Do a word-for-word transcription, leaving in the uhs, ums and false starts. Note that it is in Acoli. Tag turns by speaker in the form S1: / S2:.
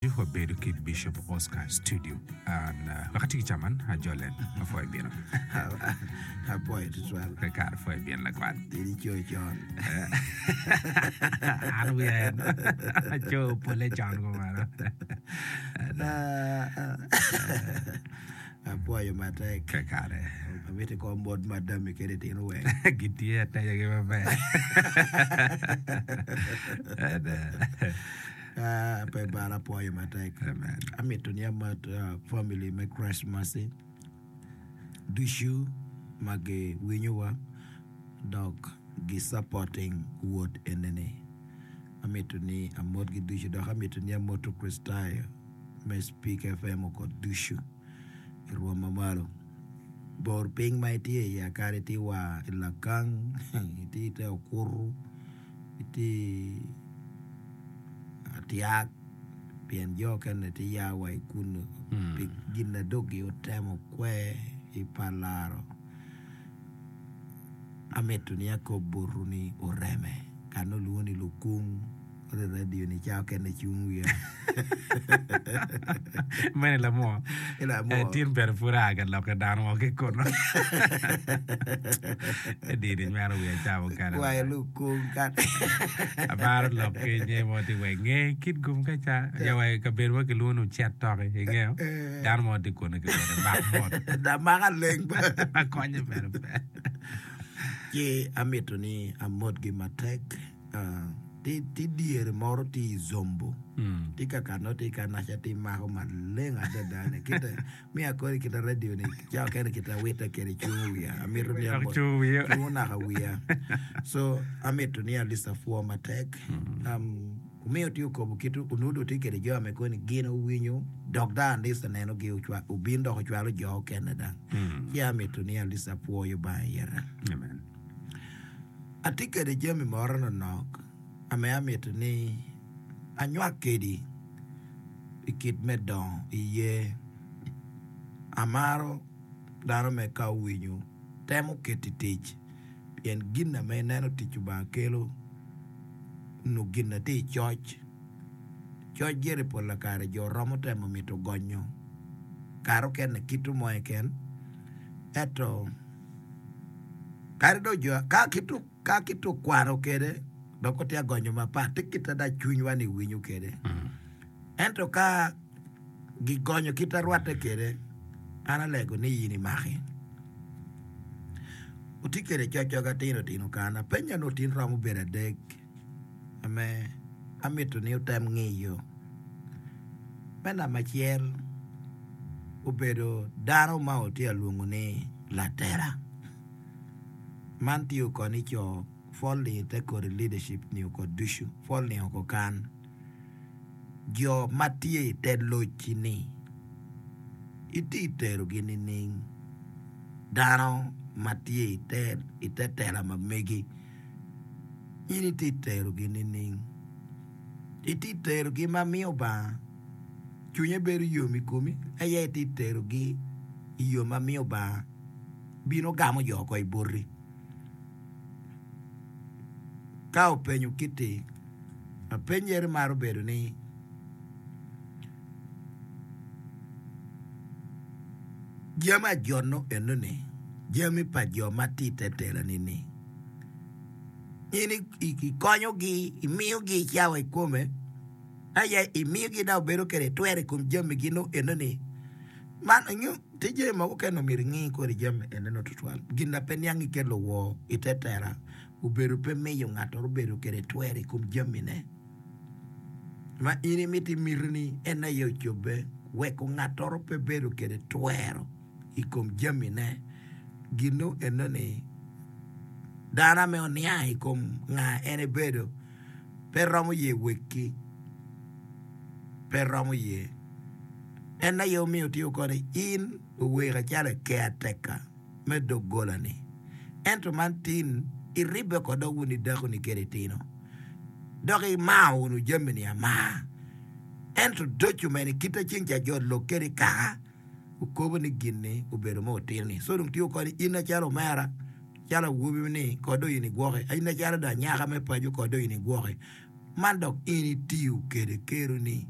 S1: Wabedo ki Bishop Oscar Studio. An wek ati ki caman ajole apwoyo bino.
S2: Apwoyo tutwal.
S1: Kare apwoyo bino lakwat.
S2: In ico con.
S1: An wiya en aco pole con kumeno.
S2: Apwoyo matek.
S1: Kakare.
S2: Amiti kom bot madami kede tino weng.
S1: Gitye atenyagi maber.
S2: Ah, pe bal apwoyo matek.
S1: Amen.
S2: Amito ni amat uh, family me Christ Mercy ducu ma giwinyowa dok gi supporting wot enini. Amito ni amotgi ducu dok amito ni amoto Kricitayo me Speak FM oko ducu i rwom mamalo. Bor piny ma itye iye akadi itye wa i Lakang, itye i te Okutu, itye Atyak, pien jo okene tye ya wa i kunu pi gin na dong otemo kwer i pa laro. Amito ni akob botwu ni oreme ka nongo olwongo ni lukung ot i radio ni ca okene cung wiya.
S1: Meno i lamwo.
S2: I lamwo.
S1: Eh, tin bene pud aa ka lok ki dano mo ki kunu. Edini nywero wiya ca mukene.
S2: Wa i lukung ka.
S1: Amaro lok ki nye mo tye wa inge kit gum ka ca. Ya wa i kabedo mo kilwongo ni Ocet Toki, ingeyo? Dano mo tye kunu kilwongo ni Mak Mot.
S2: Da maka leng.
S1: Akonye bene pe.
S2: Ci amito ni amotgi matek. Ah, ti ti dyere moro ti i Zombo. Ti ka ka nongo ti ka naca ti mako maleng adada ni kite miya kodi kita radio ni ca okene kita wite kede cungo wiya amito ni
S1: Dok
S2: amot
S1: cungo wiya.
S2: cungo naka wiya so amito ni at least apwo matek um, omiyo ti okobo kit onudo ti kede jo ame koni gin owinyo dok dang at least aneno gi ocwa obin dok ocwalo jo okene dang ci amito ni at least apwoyo bang ira.
S1: Amen.
S2: Atye kede jami moro nonok ame amito ni anywak kedi i kit me dongo i ye. Amaro dano me ka owinyo temo keto i tic pien gin ame ineno tic Lubanga kelo nyo gin na tye i coc. Coc gire pol kare jo romo temo mito gonyo kare okene kito mo keken ento kadi dong jo ka kito ka kito kwano kede dok otye agonyo mapat tye kit ada cwinywa ni winyo kede ento ka gigonyo kit arwatte kede an alego ni in imaki otye kede coc atino tino kana penya ni otin romo bedo adek ame amito ni otem ngiyo me namba acel obedo dano ma otye alwongo ni latela man tye okoni co falling i te kodi leadership ni oko ducu falling oko kan jo ma tye i te locci ni itye iterogi nining dano ma tye i te i te tela ma megi in itye iterogi nining itye iterogi ma miyo Obanga cwinye bedo yom i komi aye itye iterogi i yo ma miyo Obanga bino gamo jo oko i boti ka openyo kiti lapeny eri maro bedo ni jami ajono enoni jami pa jo ma tye i te telani ni in ikonyogi imiyogi cawa i kome aye imiyogi dok bedo kede twero i kom jamigi nongo enoni man nyo tye jami mogo kene myero ingi kodi jami enoni tutwal gin na pe niang ikelo woo i te tela obedo pe miyo ngat obedo kede twero i kom jamine ma in imiti mitini en aye ocobbe weko ngat pe bedo kede twero i kom jamine gino enoni dano ame oniang i kom nga en ebedo pe romo ye wekki pe romo ye en aye omiyo tye koni in oweka calo caretaker me doggola-ni ento man tin iribbe kod dok wun idakoni kede itino dok imao wunu jami-ni amar ento doco mene kite ceng ca jo lok kede kaka okobo ni gin-ni obedo mo otino-ni so dong tye koni in acalo omera calo awobi ni kod dong in igwoki in acalo dong anyaka me paco kod dong in igwoki man dok in itiyo kede keroni